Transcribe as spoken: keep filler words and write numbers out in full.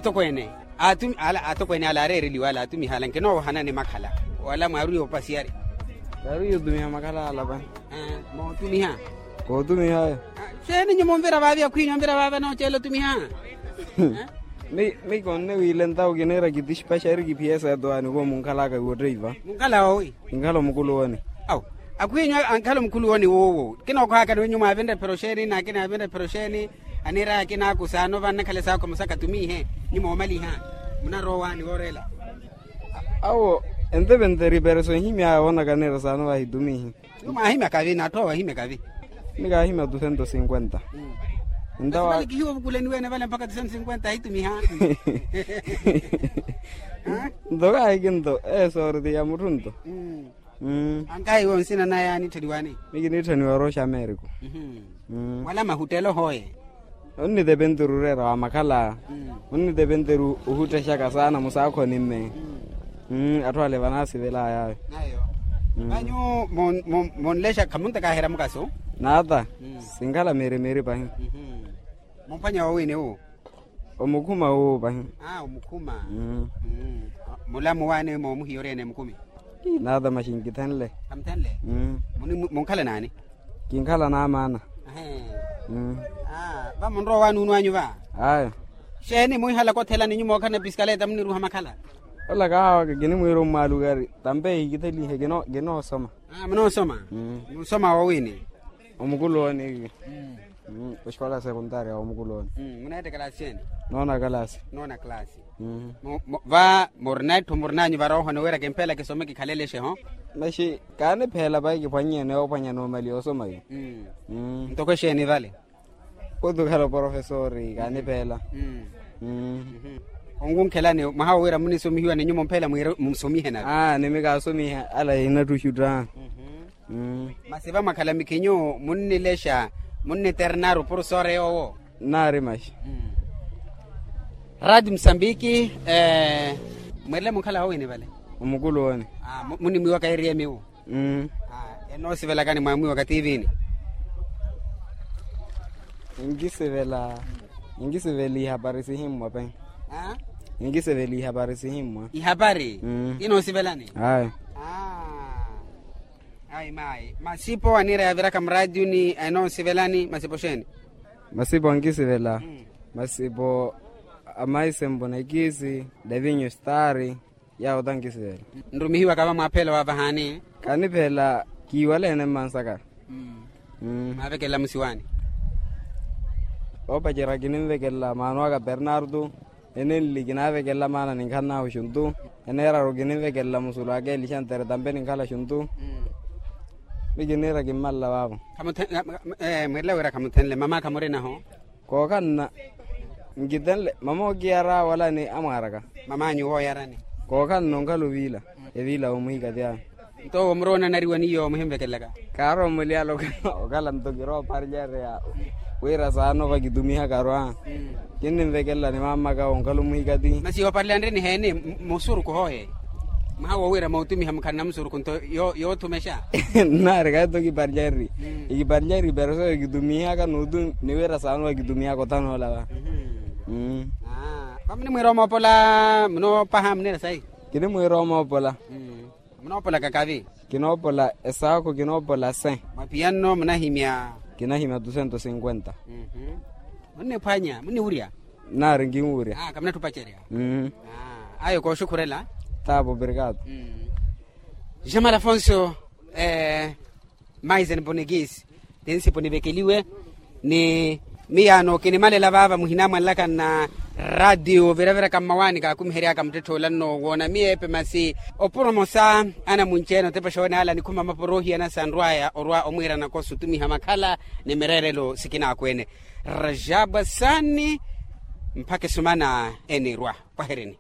Atokweene, atokweene ala aareereliwa ala aatumiha ala nkinoowohanani makhala wala mwaarwiya opasiyari? Mwaarwiya otumiha makhala ala pani. Mootumiha? Kootumiha ayo. Xeeni nyumo onvira vaavi akhwiinyu onvira vaava nooceela otumiha? Mi konne wiile ntawo kiniira kitixipa xari kiphiyeesa etowaani koomunkhalaka iwotteiva. Munkhala woowi? Kinkhala omukuluwoni. Awu, akhwiinyu ankhala omukuluwoni woowo kinookhwaakani wenyu mwaavinre ephero xeeni n'akina avinre ephero xeeni? Aniiraya akina akusaano vannakhala esaakho musaka atumiihe. Nyumo omaliha munarowaani woorela. Awo, entepentere ipereso nhimyaya woonaka aniira saano vahitumihi. Nyumo ahimya kavi n'atthu awo ahimya kavi. Nikaahimya tu sento sinkwenta. Ntawa kihiwa ovukuleni wene vale mpakha tu sento sinkwenta ahitumiha. Nto kaahiki nto esooriti ya mutthu nto. Ankahi iwe onsina naye anitthaniwani? Mikiniitthaniwa orooxa ameriko. Wala mahuttelo hooye. Onnitepenteru oreera wa makhala. Onnitepenteru ohuttexaka saana musaakhoni mme. Atthu ale vanaasivelaya ayo. Vanyu monlexa khamuntakaaherya mukaso? Naata. Sinkhala miiri miiri pahi. Mumphwanya woowiini wu? Omukhuma wuwo pahi. Omukhuma. Mulamu waani moomuhiya oreene mukumi? Naata maxi nkithenle. Kamuthenle? Munkhala naani? Kinkhala n'amaana. Va munrowa waani unu anyu va? Ayo. Xeeni muhihalaka othelani nyumo okhalana piskaleta muniruha makhala? Ola kaawaka kinimwiira ommwaalukari tampe ehikithelihe. Kinoosoma. Munoosoma? Munsoma woowiini? Omukuluwoni. Oxikola sekuntaari ya omukuluwoni. Muneetta kalasi eni? Noona kalasi. Noona kalasi. Va murina etthu murinanyu varoohoni wira kimpeela kisome kikhalelexe ho? Maxi kaanipheela pahi kiphwannye noophwanya noomaliya osoma yu. Ntoko exeeni vale? Khutukhala oporofesori kaanipheela. Onkunkhelani mwaha wo wira munisomihiwa ni nyumo mphela mwiire musomihe nave? Nimikaasomiha ala inattuxutta. Masi vamwakhala mikhinyu munnilexa munniternaru porosore yoowo? Nnaari maxi. Rati musambiki. Mwiirele munkhala hoowini vale? Omukulu woone. Munimwiiwaka eriyemiwo? Enoosivelakani mwaamwiiwaka tiivini? Inkisivela inkisivela ihapari sihimmwa pe. Inkisivela ihapari sihimmwa. Ihapari? Inoosivelani? Ayo. Ayi mayi masipo aniira yaviraka muraatiyuni enoosivelani masipo xeeni? Masipo ankisivela masipo a maisempo na ikisi davinyu stari. Yaawo tankisivela. Nrumihiwaka vamwaaphela waavahaani? Kaanipheela kiiwaleene mmansaka. Mwaavekelela musiwaani? Oopacerya kininvekelela maana aka bernardo. Enenli kinaavekelela maana ninkhannahu xuntu. Eneeraru kininvekelela musulu aka elixantere tampe ninkhala xuntu. Mi kiniira kimmalela vaavo. Mwiirela wira khamuthenle mama khamurinaho? Kookhanna nkitenle mama okiyara wala ni amwaaraka. Mamanyu wooyarani? Kookhanna onkhala oviila eviila woomuhikati awe. Nto owo muroona anariwa niyo muhimvekelelaka? Kaarowa omuliyala okhala nto kirooparlyariya wira saana ovakitumihaka arwa. Kinninvekelela ni mamaka onkhala omuhikati. Masi yooparlyani ni heeni? Musuruku hooye mwaha wowira mootumiha mukhalana musuruku nto yoothumexa. Nnaari kahi to kiparlyari ikiparlyari ipereso ekitumiihaka nuutu ni wira saana okitumihaka othana olava. Vamunimwiira omoopola munoopaha munira sayi? Kinimwiira omoopola. Munoopolaka kavi? Kinoopola esaakho kinoopola se. Mwapiyanno munahimya? Kinahimya tu sento sinkwenta. Munniphwanya munniwurya? Nnaari nkinwurya. Kamunattupacerya. Ayo kooxukhurela. Taapo obrigado. Jamal afonso. Maisen ponikisi tinsipo nivekeliwe. Ni miyaano kinimalela vaava muhina mwanlaka nna ratio viraviraka mmawaani kaakumiheryaka muttetthe olanno woona miyeepe masi opromosa anamunci-ene otepexa oone ala nikhuma maporo ohiyana sanrwaya orwa omwiira nakosa otumiha makhala ni mireerelo sikinaakwene. Rajabwa saani mpakha esumana enirwa. Pwaherini.